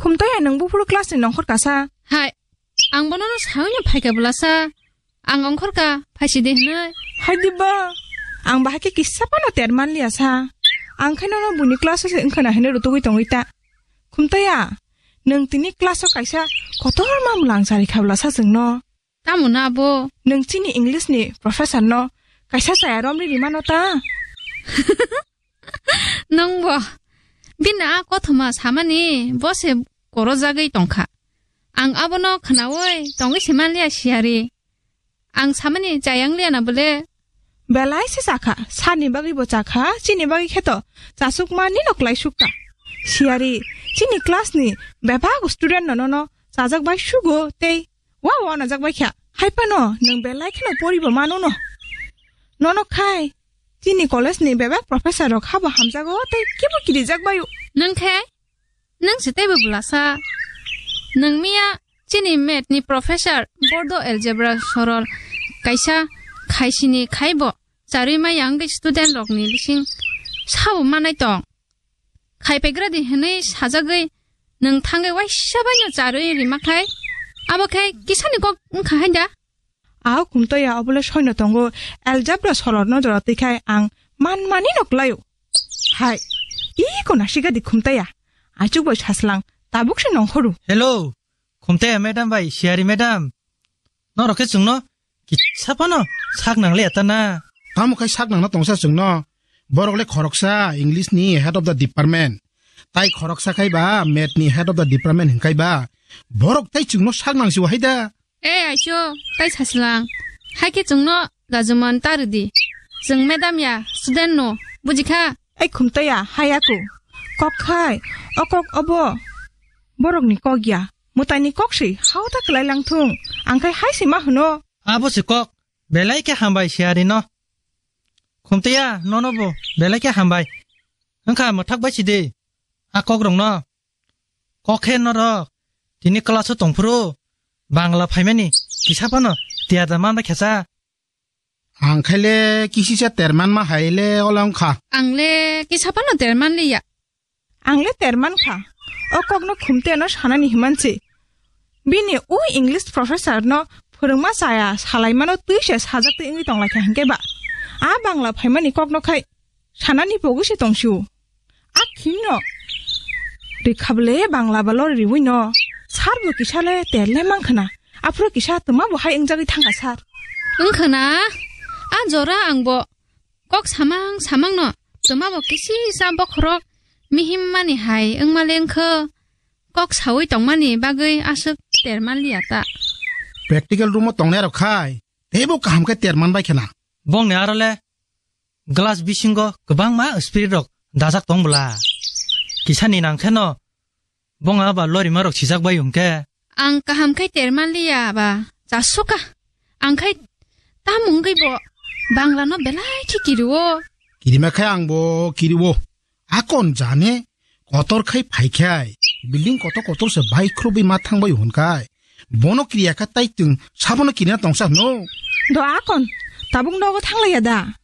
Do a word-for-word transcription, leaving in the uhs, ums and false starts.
Khumtaya, nwng buphuru class ni nongkhor kasa? Hai, ang bono no sawi no phaikha bwlasa. Ang ongkhor ka, phaisi de hwnwi. Hai diba, ang bahai khe kisa phano terman liya sa. Ang khe nono buini class o se wngkhana hwnwi rutugwi tongwi ta. Khumtaya, nwng tini class o kaisa kotor ma mwlang chari kha bwlasa chwngno. Tamo na abo? Nwng chini English ni professor no kaisa chaya romri rimano ta? Nwng bo bini a kothoma samani bo se korojagwi tongkha. Ang abono khnaui tongwi se manliya siyari. Ang samani chayang liya na bole? Belai se chakha, sani bagwi bo chakha, chini bagwi kheto chasukma nino klai sukka. Siyari, chini class ni bebak student no nono chajak bai sugo tei wa wa najak bai kha. Hai phano nwng belai kheno poribo mano no. Nono khai, chini college ni bebak professor rok habo hamjago tei kibo kirijak baio. Nwng khe? Nwng se teibo bwlasa. Nwng miya chini math ni professor bordo algebra sorol kaisa khaisini khaibo charwi maya wngwi student rokni bising sabo manai tong. Khai pegradi hwnwi sajagwi nwng thangwi waisa baino charwi rima khai abo khai kisani kok wngkha hai da? Ao Khumtaya, obole soino tongo, algebra sorolno jora twi khai ang manmani no klaio. Hai, iko nasigadi Khumtaya, achuk bai saslang, tabuk se nongkhoru. Hello, Khumtaya madam bai, Siyari madam. Norok khe chwngno kisa phano sak nang liya ta na? Tamo khai sak nangna tongsa chwngno? Borok le khoroksa English ni head of the department. Tai khoroksa khai ba math ni head of the department hwn khai ba. Borok tai chwngno sak nang si hai da. E aiso, tai saslang. Hai khe chwngno gajuman ta rwdi. Chwng madam ya, student no, bujikha? Ai Khumtaya, hai aku. Kok khai, o kok obo. Borokni kok ya. Mwtaini kok si, hao ta kwlai lang thung. Ang khai hai si ma hwno. Abo se kok, belai khe hambai Siyari no. Khumtaya, nono bo, belai khe hambai. Wngkha mwthak bai si de. A kok rok no. Kok khe norok tini class o tongphuru Bangla phaimani kisa phano tiyada man bai khe sa. Ang khaile kisisa terman ma hai le ola wngkha. Ang le kisa phano terman liya. Ang le terman kha. O kokno Khumtayano sanani himansi. Bini o English professor no phwrwngma chaya salaimano twi se sajak twi wngwi tonglaikha hinkhe ba. A Bangla phaimani kokno khai sanani pogwi se tongsiu. A khimno. Rikhabole Bangla ba lori riwi no. Sar bo kisa le ter le mangkhna. Aphuru kisa twma bo hai wngjagwi thangkha sar. Wngkhna. A jora ang bo kok samang samang no. Twma bo kisi sa bokhorok mihim mani hai wngma le wngkho. Kok sawi tongmani bagwi aswk terman liya ta. Practical room o tongnai rok khai. Teibo kaham khe terman bai khna. Bongni aro le glass bisingo kwbangma spirit rok dajak tong bwla. Kisani nang kheno bong aba lorima rok sijak bai hwnkhe. Ang kaham khai terman liya ba, chasuka. Ang khai tam wngwi bo Bangla no belai khe kirio. Kirima khai ang bo kirio. Akon jane kotor khai phai khai. Building kotor kotor se bai khrubi ma thang bai hwn khai. Bono kiriya kha tai twng sabono kirina tongsa hwno. Do akon, tabuk nogo thanglaiya da?